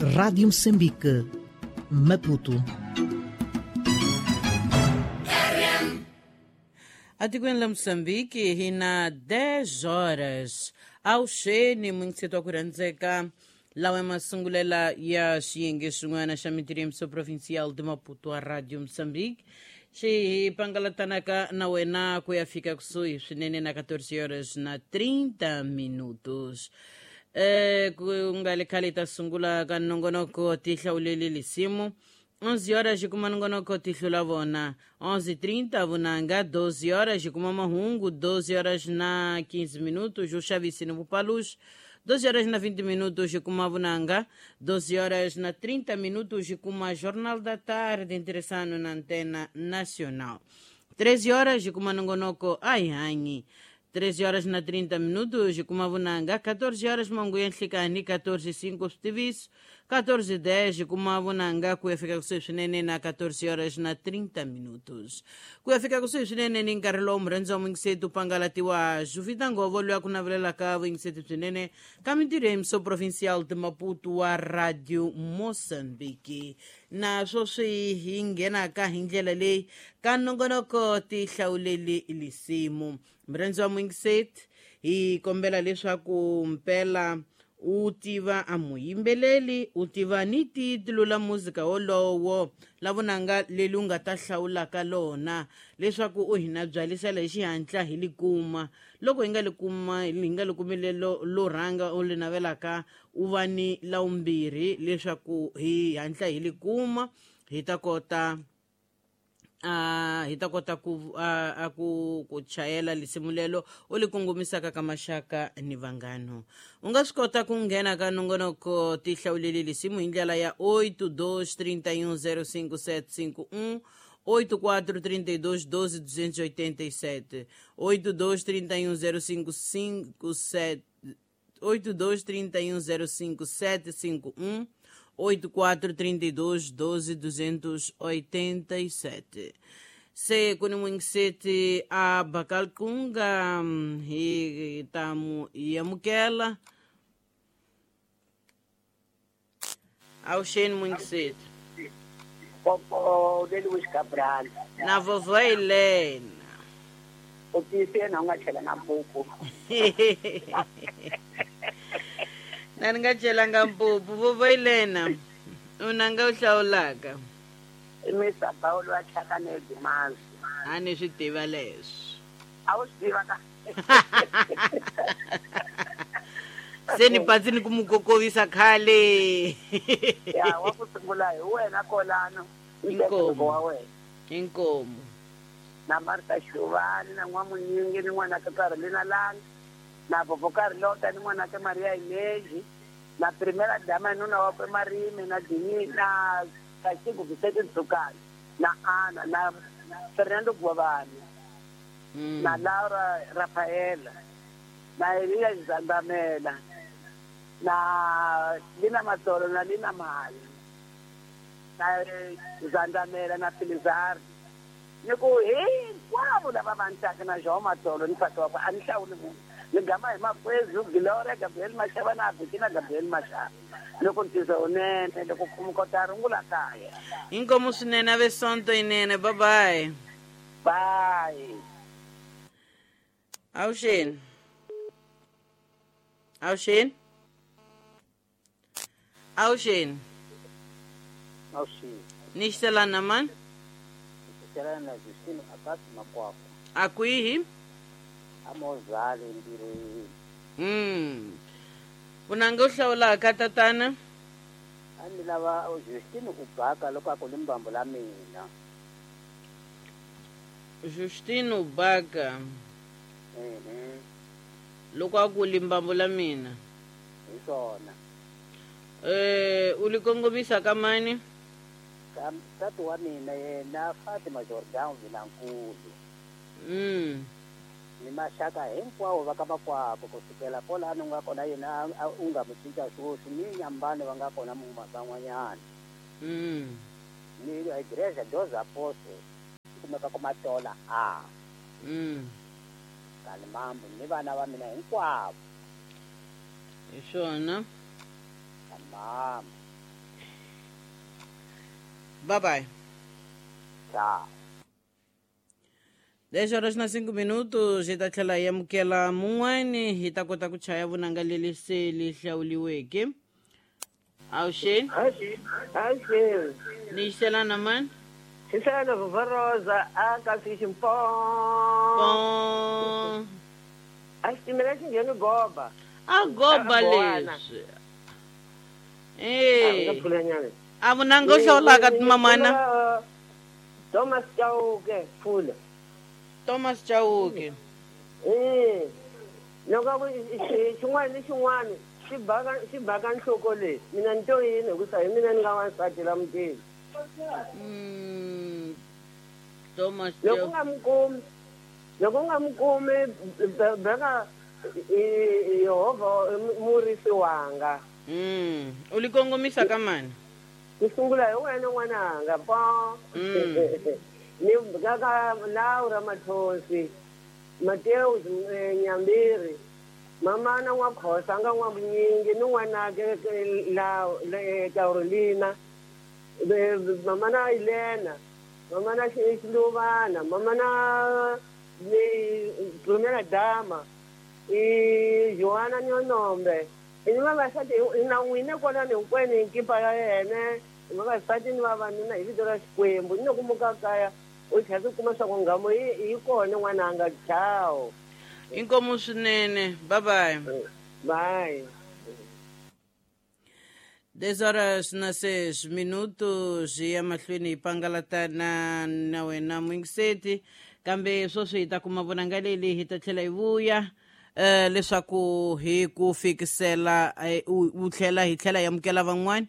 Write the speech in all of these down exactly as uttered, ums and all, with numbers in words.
Rádio Moçambique, Maputo. Atikweni la Moçambique hina dez horas awuxeni muyingiseti wa ku rhandzeka lawa masungulela ya xiyenge xin'wana xa mitirimiso provincial de Maputo a Radio Moçambique xi hi pangalatanaka na wena ku ya fika kusuhi swinene na catorze horas na trinta minutos. Eh, ku nga le khale ta sungula ka nongonoko ti hlawuleli lisimu onze horas kuma nongonoko ti hlula vona onze e trinta vunanga doze horas kuma mahungu doze horas na quinze minutos o xavisi ni vupalux doze horas na vinte minutos kuma vunanga doze horas na trinta minutos kuma Jornal da Tarde interessando na Antena Nacional treze horas kuma nongonoko ai hanyi treze horas na trinta minutos kuma vunanga catorze horas manguya nhlikani catorze e cinco tiviso catorze e dez kuma vunanga ku ya fika kusuhi swinene na catorze horas na trinta minutos ku ya fika kusuhi swinene ni nkarhi lowu murhandzi wa muyingiseti u pangalatiwa Juvita Ngovo loyi a ku navelelaka vuyingiseti byinene ka mintirho ya Emissão Provincial de Maputo wa Radio Moçambique na sweswi hi nghenaka hi ndlela leyi ka nongonoko ti hlawuleli lisimu murhandzi wa muyingiseti hi kombela leswaku mpela u tiva a muyimbeleli u tiva ni titulu la muzika wolowo la vunanga leli u nga ta hlawulaka lona leswaku u hina byalisela hi xihatla hi li kuma loko hi nga li kuma hi nga li kumi lelo lo rhanga u li navelaka u va ni la vumbirhi leswaku hi hatla hi li kuma hi ta kota a hi ta kota ku a ku ku chayela lisimu lelo u li kongomisaka ka maxaka ni vanghano u nga swi kota ku nghena ka nongonoko ti hlawuleli lisimu hi ndlela ya oito dois trinta e um zero cinco sete cinco um oito quatro trinta e dois doze duzentos e oitenta e sete oito dois trinta e um zero cinco cinco sete oito dois trinta e um zero cinco sete cinco um oito quatro trinta e dois doze duzentos e oitenta e sete. Se kuni mwingiseti a Bakalkunga hi tamu yamukela awuxeni mwingiseti Popo de Luis Cabral na vovó Helena u tiyisile na u nga chela na mpupu na ni nga celanga mpupu vovó Helena u nanga u hlawulaka i Mister Paulo wa Chaka Dimazi a ni swi tiva leswi a wu swi tiva ka se ni patsi ni ku mu kokovisa khale ya wa ku sungula hi wena kolano inkomu wa wena inkomu na Martha Shuvani na N'wamunyingi ni n'wana ka Carolina Lang na Vovó Carlota ni n'wana ka Maria Inezi na Primera Dama nuna wakwe Marime na Dini na Castigo Vicente Ntsukani na Ana na Fernando Guavani mm. na Laura Rafaela na Elia Zandamela na Lina Matolo na Lina Mali na Zandamela na Filizar ni ku hinkwavo lava va ntsaka na João Matolo ni nsati wakwe a ni hlawuli munhu ni gama hi makwezi Gloria Gabriel Mashava na Bettina Gabriel Mashava loko ntizo unene loko mi kota rungula kaya inkomu swinene ave sonto inene bye bye bye awuxeni awuxeni awuxeni awuxeni ni xiselana mani xiselana na Justino Akasi Makwakwa a kwihi amozale ntirhweni mm vunanga u hlawulaka tatana a ni lava Justino u baka loko a ku limbambo la mina Justino Baka ehe loko a ku limbambo la mina hi swona eh u li kongomisa ka mani ka nsati wa mina yena Fatima Jordan Vilankulu mm ni maxaka hinkwawo va ka makwako kusukela kwalano nga kona yena u nga mu cinca swoswi ni nyambani va nga kona van'wanyana mm ni Igreja dos Apóstolos kumeka ku Matola a mm Kalimambo ni vana va mina hinkwavo hi swona Kalimambo. Bye bye. Tchau. dez horas na cinco minutos hi ta tlhela hi amukela mun'wani hi ta kota ku chaya vunanga leri se li hlawuliweke. Awuxeni. Awuxeni. Ni xelana mani? Xisana Vavarosa a ka fishing pond. A xitimela xi ngheni goba. A goba leswi. Eh. A vunanga u hlawulaka mamana? Thomas Chauke Pfula. Thomas Chauke. Eh. Loko xin'wana ni xin'wana xi baka xi baka nhloko leyi mina ni to yini hikusa hi mina ni nga wansati la mutini. Mm. Thomas loko u nga mi kumi loko u nga mi kumi beka Yehovha murisi wanga. Mm. U li kongomisa ka mani? Ku sungula hi wena n'wananga pa. Ni kaka Laura Mathonsi, Mateus Nyambiri, mamana n'wa Khosa nga n'wa Vunyingi ni n'wanake la Carolina, mamana Elena, mamana Xiluvana, mamana Prumela Dama, i Joana Nyonombe. I ni vavasati na n'wina kwalani hinkwenu hi nkipa ya yena, hi vavasati ni vavanuna hi vito ra Xikwembu. Ni loko muka kaya u tlhela swi kuma swa ku nghamu yi yi kona n'wananga. Chao. Inkomu swinene. Bye bye. Bye. dez horas na seis minutos hi ya mahlweni hi pangalatana na wena muyingiseti, kambe sweswi hi ta kuma vunanga leli hi ta tlhela hi vuya eh leswaku hi ku fikisela u tlhela hi tlhela hi amukela van'wani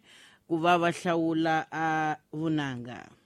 ku va va hlawula a vunanga.